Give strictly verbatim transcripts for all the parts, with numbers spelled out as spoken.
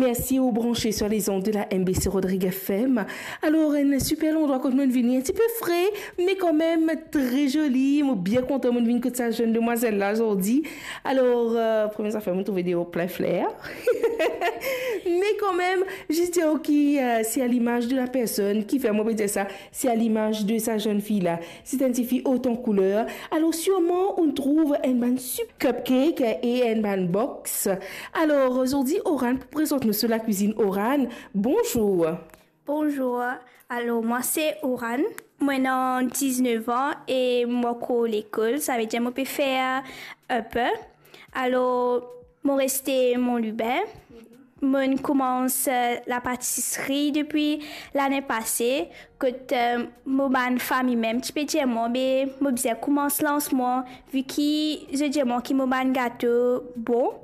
Mersi ou branche sur les ondes de la M B C Rodrigues F M. Alor, enn siper landrwa kot mo'nn vini, enn tipe fre, me kanmem tre zoli. Mo bien kontan mo'nn vinn kot sa zenn demwazel la zordi. Alor, euh, premie zafer, mo trouve deor plin fler. Me kanmem, zis dir ki, euh, se a limaz de la personn, kifer mo pe dir sa, se a limaz de sa zenn fi la. Se enn tifi ot an kouler. Alor, sirman, ou trouv enn bann sip cupcake e enn bann box. Alor, zordi, Oran pou prezant nou so lakwizinn. Oran, bonzour. Bonzour. Alor, mwa se Oran. Mo ena diznef an e mo ankor lekol, savedir mo pe fer upper. Alor, mo reste Mont Lubin. Mo'nn koumans, euh, lapatisri depi lane pase, kot, euh, mo bann fami mem ti pe dir mwa, be mo bizin koumans lans mwa, vi ki zot dir mwa ki mo bann gato bon.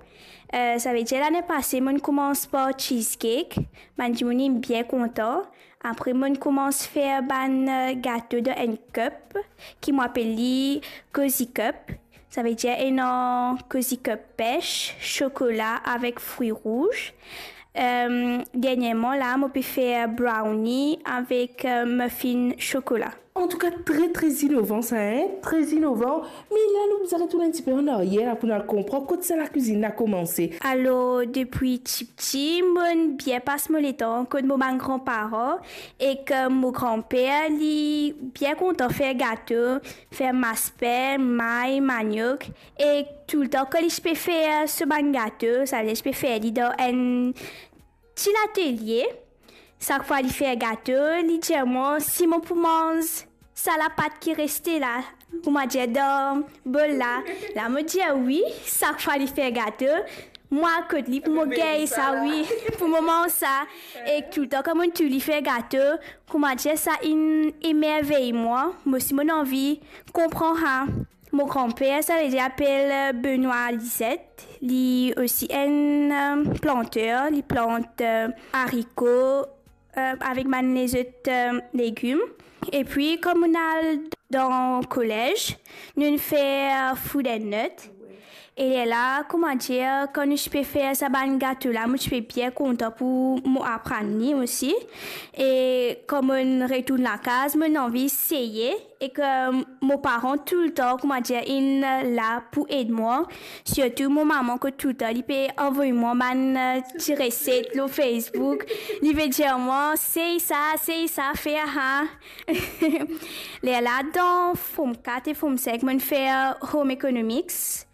Euh, savedir lane pase, mo'nn koumans par cheesecake, bann dimoun inn bien kontan. Apre, mo'nn koumans fer bann, euh, gato dan enn cup, ki mo apel li Cozy Cup. Savedir ena Cozy Cup pes, sokola avek fri rouz. Euh, dernierman la, mo pe fer brownie avek, euh, muffin sokola. Antouka, tre, tre inovan sa, hein? Tre inovan. Me la, nou bizin retourn enn tipe an aryer la pou nou al konpran kot sa lakwizinn la koumanse. Alor, depi tipti, mo'nn bien pas mo letan kot mo bann granparan, ek mo granper, li bien kontan fer gato, fer maspin, may, maniok, e toultan kan li ti pe fer so bann gato, savedir li ti pe fer li dan enn ti latelie. Sak fwa li fer gato, li dir mwa si mo pou manz sa lapat ki reste la, kouma dir, dan bol la. La mo dir wi, sak fwa li fer gato, mwa kot li pou mo gagn sa, wi, pou mo manz sa. E toultan kan mo'nn trouv li fer gato, kouma dir, sa inn emervey mwa, mo osi mo'nn anvi konpran sa. Mo granper, savedir apel, euh, Benoît Lisette. Li osi enn, euh, planter, li plant, euh, ariko, euh, avek bann lezot, euh, legim. Epi, kan mo'nn al dan kolez, nounn fer, euh, food and nut. E lerla, kouma dir, kan nou ti pe fer sa bann gato la, mo ti pe bien kontan pou mo aprann li osi. E kan mo'nn retourn lakaz, mo'nn anvi seye. Ek mo paran toultan, kouma dir, inn la pou ed mwa. Sirtou mo mama, kot toultan li pe avoy mwa bann, euh, ti reset lor Facebook. Li pe dir mwa, sey sa, sey sa, fer sa. Lerla dan Form kat e Form sink, mo'nn fer Home Economics.